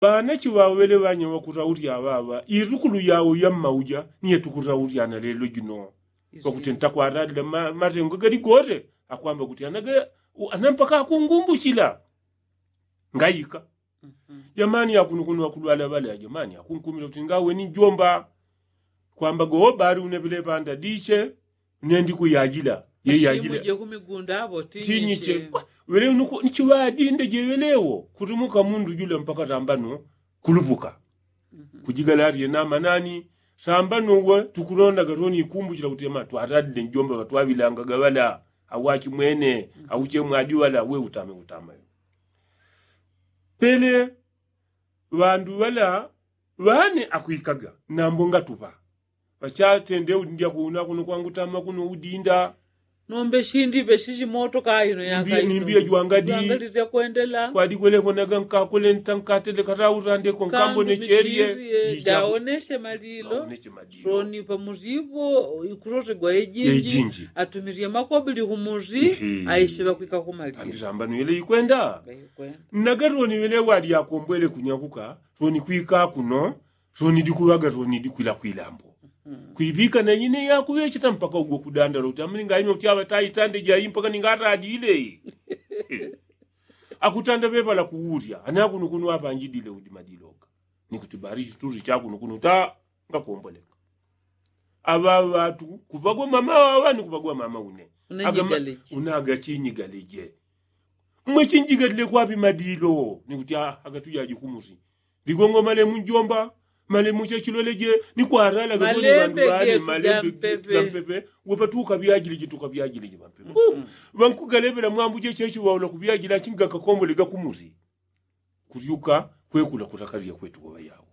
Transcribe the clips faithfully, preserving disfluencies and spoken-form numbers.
Ŵanache ŵaŵele ŵanya ŵakuraurya ŵaŵa isukulu yao yammauja niye tukuraurya na lelo jino. Ŵakuti ntakwaralila matengo gali gote akwamba kuti anampaka akungumbuchila. Ngaika jamani yakunukunu ŵakulwala ŵale ajamani akunkumila kuti ngaweni njomba. Kwamba gowo bali unepele panda diche nendikuyajila yeyajila. Tinyiche ŵele nichiŵadinde jeŵelewo kutumuka mundu jula mpaka tambano kulupuka. Kujigala ati yenamanani sambano we tukulondaga toni ikumbuchila kuti yamani twaradile njomba ŵatwaŵilangaga ŵala awachimwene auchemwadi ŵala we utame utamayo. Pele ŵandu ŵala ŵane akwikaga nambo ngatupa ŵachatende udi ndyakuuna kuno kwangutama kuno udinda. Nombe shindipe shishi moto kaino yakaino nimbiya jwangadi kwadikwelekonaga nkakole ntankatele kataurandeko nkambone cherie. Jaoneshe malilo soni pamuzipo ikurotegwa ejinji atumirie makobili kumuzi aishe ŵakwika kumalilo. Ambisambano yele ikwenda naga toni ŵele wadi akombwele kunyakuka toni kwika kuno. Toni dikuŵaga toni dikwila kwilambo kwiŵika na ine yakuŵecheta mpaka ugwe kudandala kuti amuli ngaime kuti aŵa taitande jai mpaka ningatadile. Akutanda ŵepala kuwurya anakunukunu apanjidile udi madiloga. Nikuti bali chituri chakunukunu ta ngakomboleka. Aŵa ŵatu kuŵagwa mama waŵa nikuŵagwa mama une. Unagachinyigalije mwe chinjigalile kwapi madilo nikuti agatujaji kumusi. Ligongo malemu njomba malemu chechiloleje nikwaralaga malembe gampepe. Wepatuka vyajilije tuka vyajilije vampepe ŵankugalevela mwambuje chechiwaula kuvyajila chingakakombole gakumusi. Kulyuka kwekula kutakalilya kwetu woŵa yawo.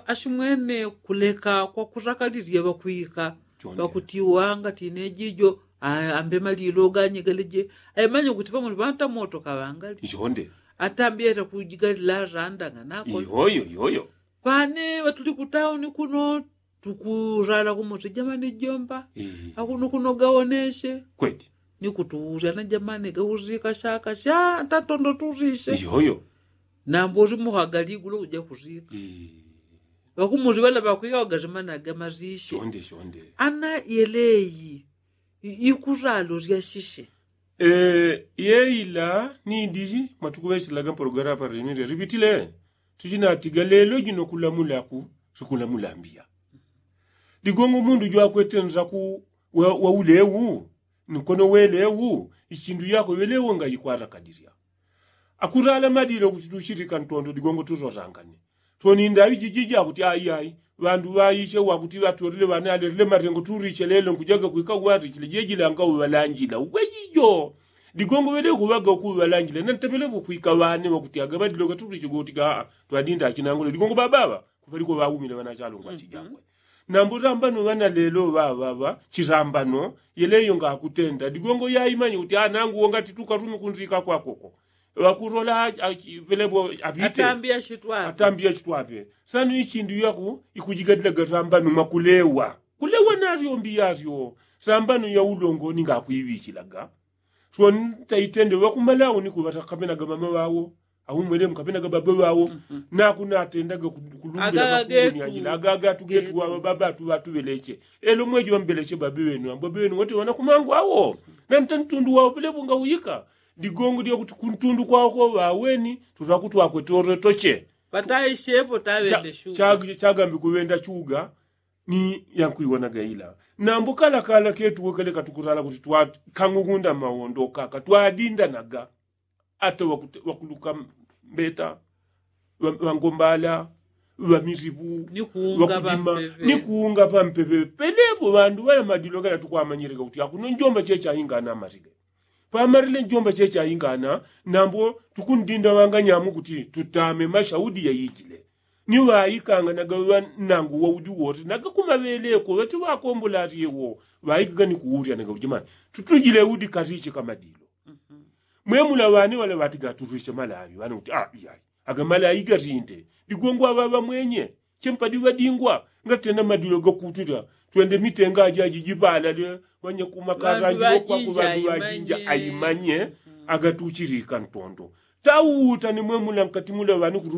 Ashimwene kuleka kwakutakalilya ŵakwika ŵakutiwa ngati ine jijo ambe malilo ganyegeleje. Aimanye kuti pamuli ŵantamoto kaŵangali ichonde atambi ata kujigalila randa ng'anako iyoyo iyoyo. Pane ŵatuli kutauni kuno tukurala kumutija mane jomba akuno kuno gawoneshe kweti. Nikutuurya na jamani gauzika shaka sha tatondo turishe iyoyo. Nambo urimuhagali gulo uja kuzika ŵakumuli ŵala ŵakwika ŵagarimanaga marishe. Ana yeleyi ikuralo ryashishe. Yeila nidiri mwatukuŵechelaga mpologalamu parinirya ripitile. Tuchinatiga lelo jino kulamulaku sikulamula mbiya. Ligongo mundu jwakwete nzaku wa ulewu nkono welewu ichindu yakwe ŵelewu ngayikwarakadirya. Akurala madilo kuti tuchilika ntondo ligongo turorangane. Twoninda ijiji jakuti aiyai ŵandu ŵaiche wakuti ŵatolile ŵane alerile matengo turiche lelo nkujaga kwika warichile jejilanga uŵalanjila ugwejijo. Ligongo ŵelekuŵaga ukuŵalanjila nantepelepo kwika ŵane wakuti agaŵadilo gaturiche gotiga aa twadinda achinangule ligongo ŵaŵaŵa. Kuŵaliko ŵaumile ŵanachalongo achijakwe nambo tambano ŵana lelo ŵaŵaŵa. Chisambano yeleyo ngakutenda ligongo yaimanye kuti anangu wongati tukarume kunzika kwakoko. Ŵakulola pelepo apite atambi yachitwape. Sano ichindu yako ikujigadila gasambano mwakulewa kulewa naryo mbi yaryo. Sambano yaulongo ningakwiŵichilaga swo ntaitende ŵakumalauni kuŵata kapenaga mama ŵawo. Aumwelemu kapenaga baba ŵawo. Nakunatendaga kulumbila ŵakugunyanjila agagatu getu ŵaŵa baba atu ŵatuŵeleche. Elo mweji ŵambeleche baba ŵenu ambo baba ŵenu wati ŵanakumangu awo. Nantantundu wawo pelepo ngauyika ligongo lyakuti kuntundu kwakwo ŵaweni. Tutakutwakwe toretoche ŵataishepo taŵende shuga. Chagambi kuŵenda chuga ni yankwiwonaga ila. Nambo kalakala ketuwe kale katukutala kuti twakang'ung'unda mawondo kaka twadindanaga. Ata ŵakuluka mbeta ŵangombala ŵamisipu ŵakudima ni kuunga pampepe. Pelepo ŵandu ŵala madilo gala tukwamanyileka kuti akuno njomba chechaingana amarile. Pamarile njomba chechaingana nambo tukundinda ŵanganyamu kuti tutame mashaudi yaijile. Ni ŵaikanganaga ŵanangu waudi wote nagakumaŵeleko ŵati ŵakombola ati ewo. Ŵaikaga ni kuulyanaga ujimani tutujile udi kariche kamadilo. Mwemula ŵane ŵala ŵatiga aturishe malawi ŵane kuti a iyai. Agamalawi gatinde ligwengwa ŵaŵa mwenye chempadi ŵadingwa. Ngatenda madilo gakutila twende mitenga ajaji jipala lye ŵanyakumakata ajilokwako ŵandu ŵajinja aimanye. Agatuchilika ntondo tauta ni mwemula nkati mula ŵani kurula.